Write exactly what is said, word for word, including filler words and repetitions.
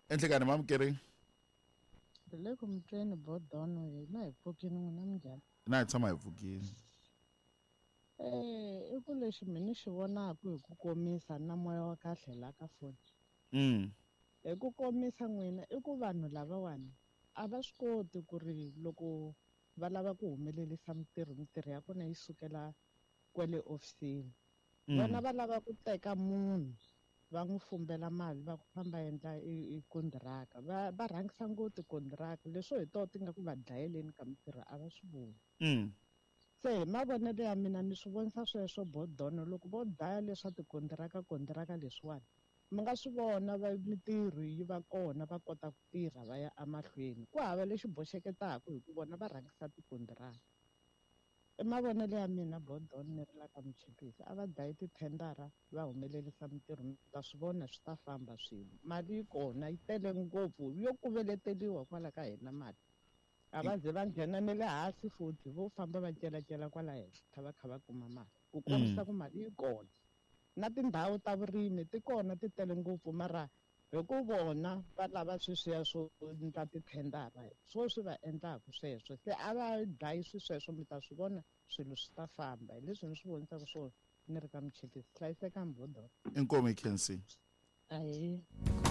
Enhlekani mamukeri. Hi le ku mutweni bodono hina hi pfukini n'wina minjhani? Na hi tshama hi pfukini. Eh, i ku lexi mina ni xi vonaka hi ku komisa na moya wa kahle la ka foni. Mm. Hi ku komisa n'wina i ku vanhu lavawani a va swi koti ku ri loko va lava ku humelerisa mitirho mitirho ya kona yi sukela kwale ofisini. Vona va lava ku teka munhu va n'wi fumbela mali va ku famba endla i kondiraka va va rhangisa ngopfu tikondiraka leswo hi toho ti nga ku va dlayeleni ka mitirho a va swi voni. Mm. Se hi mavonelo ya mina ni swi vonisa sweswo bodono loko vo dlaya leswa tikondiraka kondiraka leswiwani mi nga swi vona va mitirho yi va kona va kota ku tirha va ya emahlweni ku hava lexi boxeketaka hi ku vona va rhangisa tikondiraka. I mavonelo ya mina bodono ni ri la ka Muchipisi a va dlayi tithendara va humelerisa mitirho mi ta swi vona swi ta famba swilo mali yi kona yi tele ngopfu yo kuveleteriwa kwala ka hina mali a va ze va nghena ne le hansi futhi vo famba va celacela kwala henhla va kha va kuma mali ku kombisa ku mali yi kona na tindhawu ta vurimi ti kona ti tele ngopfu mara hi ku vona va lava sweswiya swo endla tithendara swo swi va endlaka sweswo se a va dlayi swi sweswo mi ta swi vona swilo swi ta famba hi leswi ni swi vonisaka swona ni ri ka Muchipisi hlayisekani bodono. Inkomu hi Khensi. Ahee.